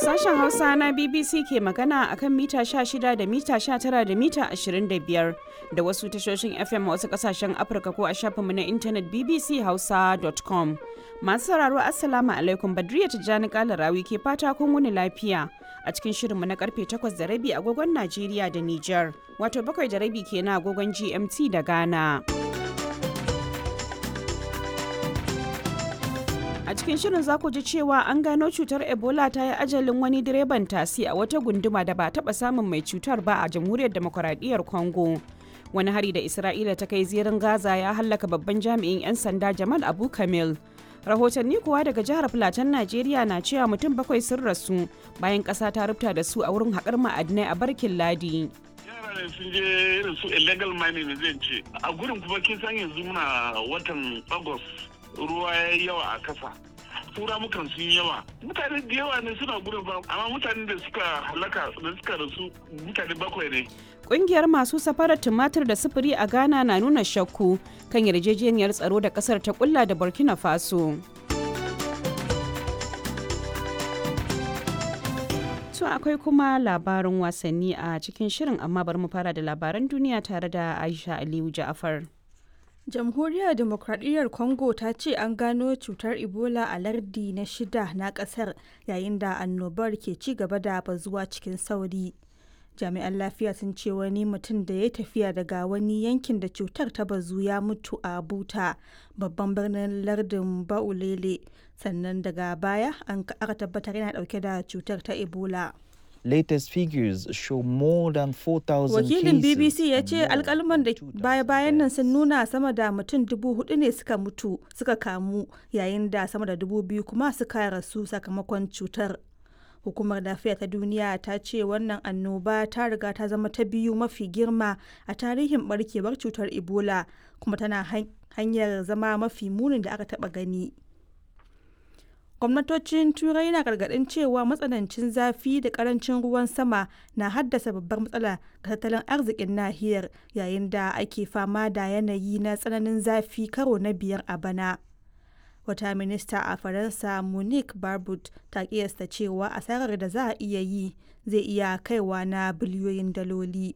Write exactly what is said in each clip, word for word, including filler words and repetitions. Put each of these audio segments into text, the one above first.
Sashen Hausa na B B C ke magana a kan mita sha shida da mita sha tara da mita ashirin da biyar da wasu tashoshin F M a wasu kasashen Afirka ko a shafinmu na intanet B B C hausa dot com. Masu sauraro, Assalamu alaikum, Badriya Tijjani Kalarawi ke fata kun wuni lafiya a cikin shirinmu na karfe takwas da rabi agogon Najeriya da Nijar, wato bakwai da rabi kenan agogon G M T da Ghana. A cikin shirin za ku ji cewa an gano cutar Ebola ta yi ajalin wani direban tasi a wata gunduma da ba taɓa samun mai cutar ba a Jamhuriyar Demokuraɗiyyar Congo. Wani hari da Isra'ila ta kai zirin Gaza ya hallaka babban jami'in 'yan sanda Jamal Abu Kamil. Rahotanni kuwa daga jihar Filatan Najeriya na cewa mutum bakwai sun rasu bayan ƙasa ta rubuta da su a wurin haƙar ma'adinai a Barkin Ladi. Yara ne sun je irin su illegal mining ne zan ce. A gurin kuma kin san yanzu muna watan August, ruwa ya yi yawa a kasa. Tura mukan sun yawa. Mutane da yawa ne suna gurin ba, amma mutane da suka halaka da suka rasu mutane bakwai ne. Ƙungiyar masu safarar tumatir da sufuri a Ghana na nuna shakku kan yarjejeniyar tsaro da kasar ta kulla da Burkina Faso. To akwai kuma labarin wasanni a cikin shirin, amma bari mu fara da labaran duniya tare da Aisha Aliyu Ja'afar. Jamhuriyar Demokradiyyar Congo ta ce an gano cutar Ebola a lardi na shida na kasar yayin da annobar ke ci gaba da bazuwa cikin sauri. Jami'an lafiya sun ce wani mutum da ya tafiya daga wani yankin da cutar ta bazu ya mutu a Buta, babban birnin lardin Baulele, sannan daga baya an aka tabbatar yana dauke da cutar ta Ebola. Latest figures show more than four thousand Wakilin cases B B C ya and ce more alkalman da than two thousand baya-bayan nan deaths. sun nuna sama da mutum dubu hudu ne suka mutu suka kamu, yayin da sama da dubu biyu kuma suka rasu sakamakon cutar. Hukumar Lafiya ta Duniya ta ce wannan annoba ta riga ta zama ta biyu mafi girma a tarihin barkewar cutar Ebola, kuma tana hanyar zama mafi munin da aka taba gani. Gwamnatocin Turai na gargaɗin cewa matsanancin zafi da karancin ruwan sama na haddasa babbar matsala ga tattalin arzikin nahiyar, yayin da ake fama da yanayi na tsananin zafi karo na biyar a bana. Wata minista a Faransa, Monique Barbut, ta kiyasta cewa asarar da za a iya yi zai iya kaiwa na biliyoyin daloli.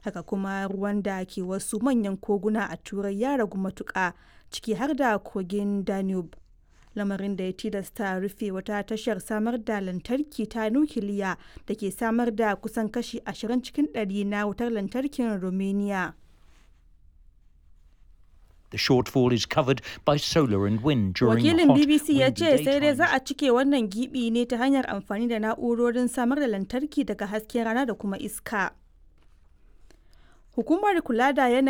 Haka kuma ruwan da ke wasu manyan koguna a Turai ya ragu matuƙa, ciki har da kogin Danube, lamarin da ya tilasta rufe wata tashar samar da lantarki ta nukiliya da ke samar da kusan kashi ashirin cikin ɗari na wutar lantarkin Romania. The shortfall is covered by solar and wind during Wakilin hot, B B C ya windy ce sai dai za daytimes. a cike wannan gibi ne ta hanyar amfani da na'urorin samar da lantarki daga hasken rana da kuma iska. Hukumar kula da yanayi